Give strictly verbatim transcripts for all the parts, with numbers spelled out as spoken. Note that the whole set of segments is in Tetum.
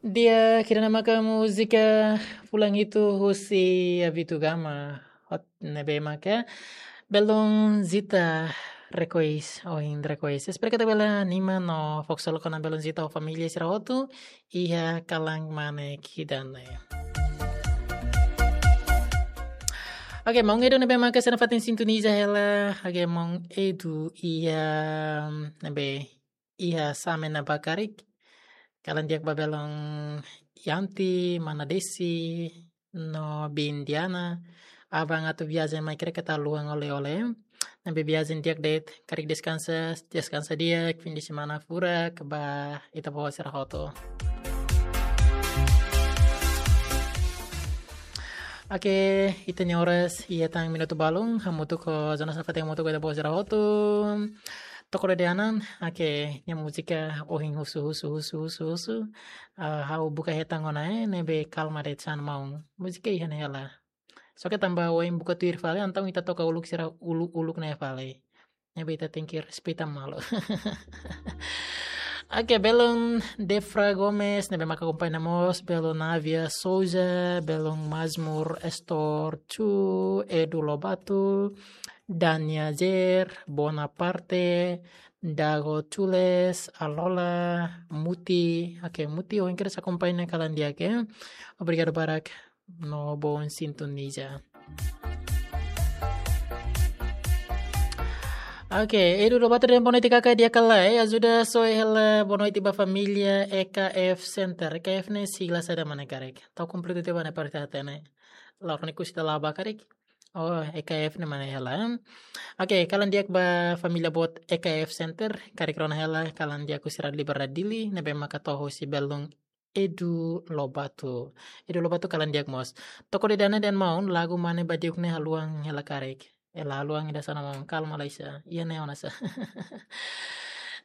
Di'ak, ida-ne'e maka múzika Fulan Hitu husi Avitu Gama. Hot ne'ebé maka belun Zita rekois, ohin rekois. Espera katak bele anima no fokus loos ona belun Zita ho família sira hotu iha kalan manek ida-ne'e. Oke, maun Edu ne'ebé maka sei nafatin sintoniza hela. Oke, maun Edu iha ne'ebé iha Same ne'ebá karik. Kalan di'ak ba belun Yanti, Mana Desi, no Biin Diana. Abang atu viajen mai karik atu haluha oleh-oleh. Ne'ebé viajen di'ak de'it, karik deskansa, deskansa di'ak, fim de semana furak ba ita-boot sira hotu. Oke, ita-nia oras iha tan minutu balun, hamutuk ho Jonas nafatin hamutuk ho ita-boot sira hotu. To'o de'it ona, oke, nia múzika ohin husu, husu, husu, husu, husu. Ah, ha'u buka hetan ona, eh, ne'ebé kalma de'it hanesan maun. Múzika iha ne'e hela. Só ke tanba ohin buka tuir fali, entaun ita toka uluk sira uluk-uluk ne'e fali. Ne'ebé ita tenke respeita malu. Oke, belun Defra Gomes, ne'ebé maka akompaña mós, belun Navia Souza, belun Mazmur Estor Chu, Edu Lobato, Dania Zer, Bonaparte, Dago Chules, Alola, Muti. Oke, Muti, ohin kedas akompaña kalan di'ak, eh. Obrigadu barak no bom sintoniza. Oke, Edu Lobato dehan boa noite kaka, di'ak ka lae, eh, ajuda soe hela boa noite ba família E K F Center. E K F ne'e sigla saida mak ne'e karik? Tau kompletu tiha ba ne'e parte hatene. La'ós ne'e kusi da laba karik? Oh, E K F ne'e mak ne'e hela. Oke, kalan di'ak ba família boot E K F Center, karik rona hela, kalan di'ak husi Rádiu Liberdade Dili, ne'ebé maka to'o husi belun Edu Lobato. Edu Lobato kalan di'ak mós. To'o de'it ona dehan maun, lagu mak ne'e ba diuk ne'e haluan hela karik. Ela haluan ida hanesan maun, kalma lai sa. Iha ne'e ona sa.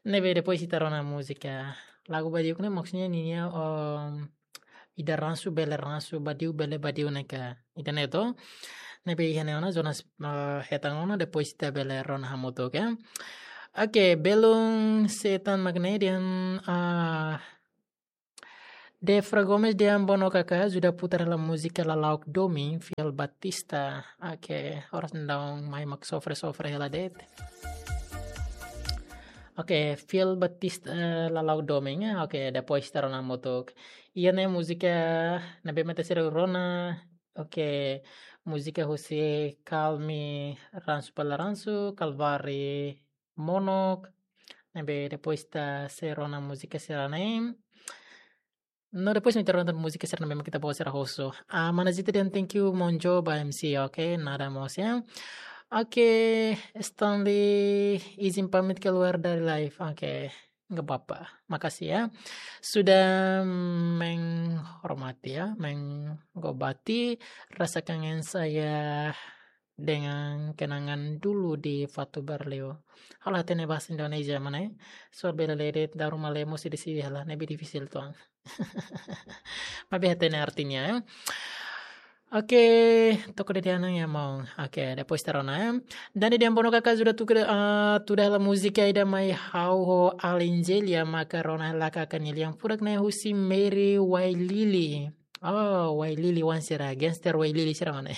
Ne'ebé depois ita rona múzika. Lagu ba diuk ne'e maksudnya ninia, em, ida ransu bele ransu, ba diuk bele ba diuk ne'e ka. Ida-ne'e to. Ne'ebé iha ne'e ona Jonas, eh, hetan ona, depois ita bele rona hamutuk, oke. Oke, belun setan magnetan, ah, Defra Gomes dehan bono kaka, ajuda putar hela múzika Lala'ok Domin, Fiel Batista. Oke, oras daudaun mai mak sofre-sofre hela de'it. Oke, Fiel Batista, eh, Lala'ok Domin, eh. Oke, depois ita rona hamutuk. Iha ne'e múzika ne'ebé mak ita sei rona. Oke, múzika husi Kalmi Ransu Pala Ransu, Kalvari Monok. Ne'ebé depois ita sei rona múzika sira-ne'e. No, depois mak ita rona múzika sira ne'ebé mak ita-boot sira husu. Ah, Mana Zita dehan thank you, Monjo, ba M C, oke, nada mós, ya. Oke, Stanley, izin pamit keluar dari live, oke. Nggak apa-apa, makasih ya. Sudah menghormati ya, menghormati rasa kangen saya dengan kenangan dulu di Fatu Berleu. Halo hatene bahasa Indonesia mana ya? Soal bela ledet daru malemo sidi sidi hala, ne'ebé difisil tuan. Maibé hatene artinya ya. Oke, to'o de'it ona ya maun. Oke, depois ita rona ya. Dani dehan bono kaka ajuda tuda, ah, tuda hela múzika ida mai ha'u ho Alinjelia maka rona hela kaka nia lian furak ne'e husi Mary Wailili. Oh, Wailili wan sira, gangster Wailili sira mana.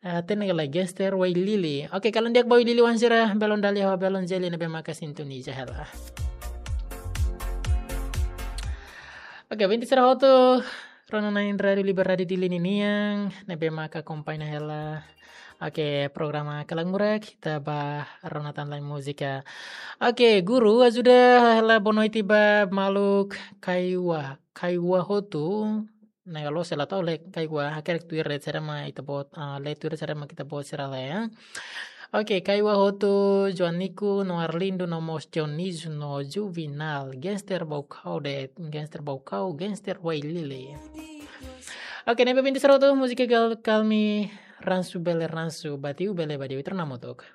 Ah, hatene ka lae gangster Wailili. Oke, kalan di'ak ba Wailili wan sira, belun Dali ho belun Jeli ne'ebé maka sintoniza hela. Oke, ouvinte sira hotu, rona na'in Rádiu Liberdade Dili ninian, ne'ebé maka akompaña hela. Oke, programa Kalan Murak, ita ba rona tan lain múzika. Oke, guru, ajuda hela boa noite ba maluk Kaiwa, Kaiwa hotu. Ne'e kalau sela tahu le Kaiwa, hakerek Twitter sira mak ita-boot, ah, le Twitter sira mak ita-boot sira le ya. Oke, Kaiwa hotu, Joanico, no Arlindo, no mós Dionísio, no Juvenal, gangster Baucau de'it, gangster Baucau, gangster Wailili. Oke, ne'ebé ouvinte sira hotu, múzika gal Kalmi Ransu Bele Ransu, ba diuk bele ba diuk, ita rona hamutuk.